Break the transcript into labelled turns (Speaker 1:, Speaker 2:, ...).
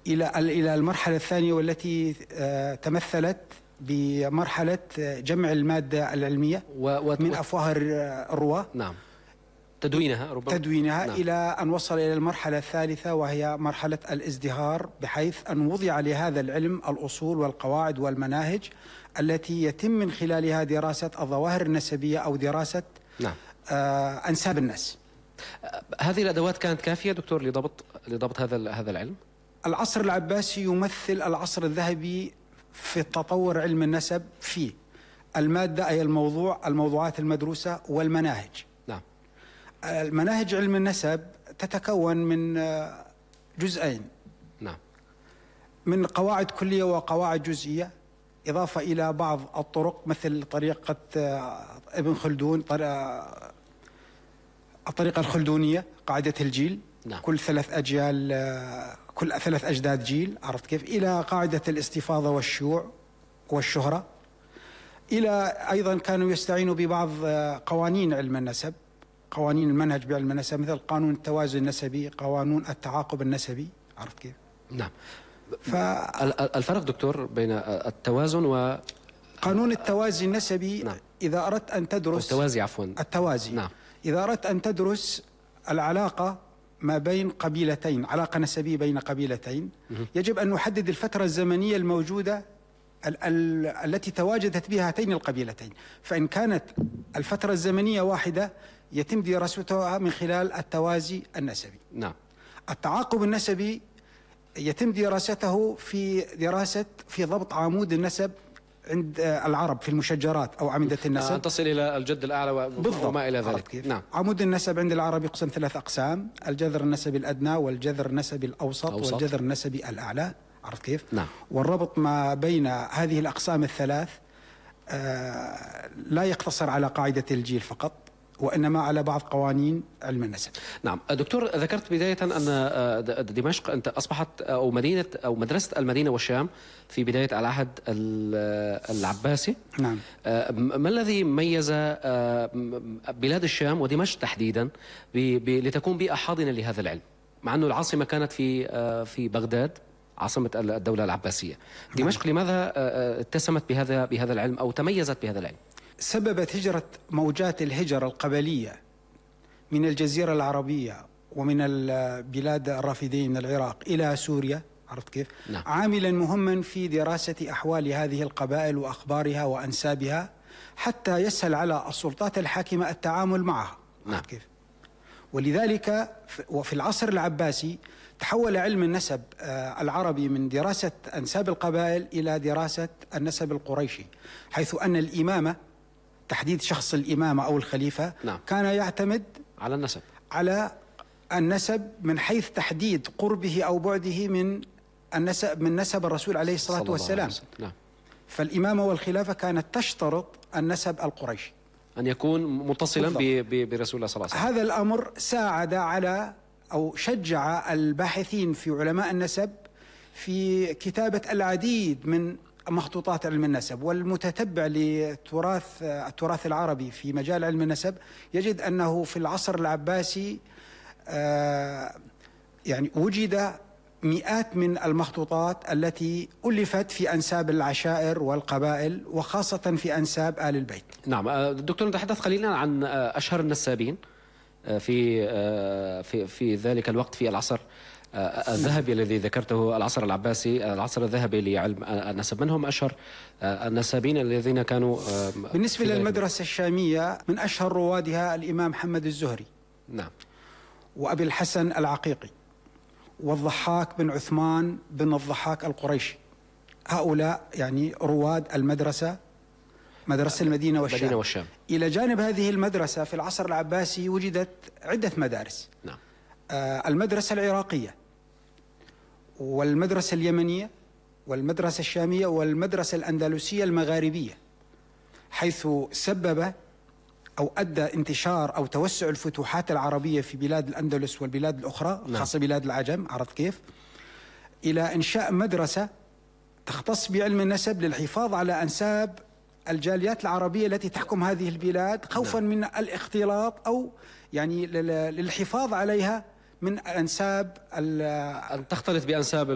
Speaker 1: إلى المرحلة الثانية، والتي تمثلت بمرحلة جمع المادة العلمية من أفواه الرواة.
Speaker 2: نعم. تدوينها ربما.
Speaker 1: تدوينها.
Speaker 2: نعم.
Speaker 1: إلى أن وصل إلى المرحلة الثالثة، وهي مرحلة الازدهار، بحيث أن وضع لهذا العلم الأصول والقواعد والمناهج التي يتم من خلالها دراسة الظواهر النسبية أو دراسة
Speaker 2: نعم.
Speaker 1: أنساب الناس.
Speaker 2: هذه الأدوات كانت كافية دكتور لضبط هذا العلم؟
Speaker 1: العصر العباسي يمثل العصر الذهبي في تطور علم النسب في المادة، أي الموضوعات المدروسة والمناهج.
Speaker 2: نعم.
Speaker 1: المناهج علم النسب تتكون من جزئين.
Speaker 2: نعم. من
Speaker 1: قواعد كلية وقواعد جزئية، إضافة إلى بعض الطرق مثل طريقة ابن خلدون، الطريقة الخلدونية، قاعدة الجيل.
Speaker 2: نعم.
Speaker 1: كل 3 أجيال، كل 3 أجداد جيل، عرفت كيف؟ إلى قاعدة الاستفاضة والشيوع والشهرة. إلى أيضا كانوا يستعينوا ببعض قوانين علم النسب، قوانين المنهج بعلم النسب، مثل قانون التوازن النسبي، قانون التعاقب النسبي، عرفت كيف؟
Speaker 2: نعم. الفرق دكتور بين التوازن و
Speaker 1: قانون التوازي النسبي.
Speaker 2: نعم.
Speaker 1: إذا أردت أن تدرس
Speaker 2: التوازي، عفوا
Speaker 1: التوازي.
Speaker 2: نعم.
Speaker 1: إذا أردت أن تدرس العلاقة ما بين قبيلتين، علاقة نسبية بين قبيلتين، يجب أن نحدد الفترة الزمنية الموجودة التي تواجدت بها هاتين القبيلتين. فإن كانت الفترة الزمنية واحدة، يتم دراستها من خلال التوازي النسبي.
Speaker 2: نعم.
Speaker 1: التعاقب النسبي يتم دراسته في ضبط عمود النسب عند العرب في المشجرات أو أعمدة النسب،
Speaker 2: أن تصل إلى الجد الأعلى وما إلى ذلك.
Speaker 1: نعم. عمود النسب عند العرب يقسم 3 أقسام: الجذر النسبي الأدنى، والجذر النسبي الأوسط، والجذر النسبي الأعلى، عرفت كيف؟
Speaker 2: نعم.
Speaker 1: والربط ما بين هذه الأقسام الثلاث لا يقتصر على قاعدة الجيل فقط، وإنما على بعض قوانين علم النسب.
Speaker 2: نعم. دكتور، ذكرت بداية أن دمشق أنت أصبحت أو مدرسة المدينة والشام في بداية العهد العباسي.
Speaker 1: نعم.
Speaker 2: ما الذي ميز بلاد الشام ودمشق تحديدا لتكون بيئة حاضنة لهذا العلم، مع أنه العاصمة كانت في بغداد، عاصمة الدولة العباسية؟ دمشق لماذا اتسمت بهذا العلم أو تميزت بهذا العلم؟
Speaker 1: سببت هجرة موجات الهجرة القبلية من الجزيرة العربية ومن البلاد الرافدين من العراق إلى سوريا، عرفت كيف؟
Speaker 2: نعم.
Speaker 1: عاملا مهما في دراسة أحوال هذه القبائل وأخبارها وأنسابها، حتى يسهل على السلطات الحاكمة التعامل معها.
Speaker 2: نعم.
Speaker 1: كيف؟ ولذلك وفي العصر العباسي تحول علم النسب العربي من دراسة أنساب القبائل إلى دراسة النسب القريشي، حيث أن الإمامة، تحديد شخص الإمامة أو الخليفة،
Speaker 2: نعم،
Speaker 1: كان يعتمد على النسب من حيث تحديد قربه أو بعده من نسب الرسول عليه الصلاة والسلام.
Speaker 2: نعم.
Speaker 1: فالإمامة والخلافة كانت تشترط النسب القريشي
Speaker 2: أن يكون متصلا برسول الله صلى الله عليه وسلم.
Speaker 1: هذا الأمر ساعد على أو شجع الباحثين في علماء النسب في كتابة العديد من مخطوطات علم النسب، والمتتبع للتراث العربي في مجال علم النسب يجد أنه في العصر العباسي يعني وجد مئات من المخطوطات التي ألفت في أنساب العشائر والقبائل، وخاصة في أنساب آل البيت.
Speaker 2: نعم. دكتور، نتحدث قليلا عن أشهر النسابين في ذلك الوقت في العصر الذهبي الذي ذكرته، العصر العباسي، العصر الذهبي لعلم النسب. من هم أشهر النسابين الذين كانوا
Speaker 1: بالنسبة للمدرسة الشامية؟ من أشهر روادها الإمام محمد الزهري،
Speaker 2: نعم،
Speaker 1: وأبي الحسن العقيقي، والضحاك بن عثمان بن الضحاك القريشي. هؤلاء يعني رواد مدرسة المدينة والشام. إلى جانب هذه المدرسة في العصر العباسي وجدت عدة مدارس.
Speaker 2: نعم.
Speaker 1: المدرسة العراقية، والمدرسة اليمنية، والمدرسة الشامية، والمدرسة الأندلسية المغاربية، حيث سبب أو أدى انتشار أو توسع الفتوحات العربية في بلاد الأندلس والبلاد الأخرى، خاصة بلاد العجم، عرفت كيف؟ إلى إنشاء مدرسة تختص بعلم النسب للحفاظ على أنساب الجاليات العربية التي تحكم هذه البلاد، خوفا من الاختلاط أو يعني للحفاظ عليها من أنساب
Speaker 2: أن تختلط بأنساب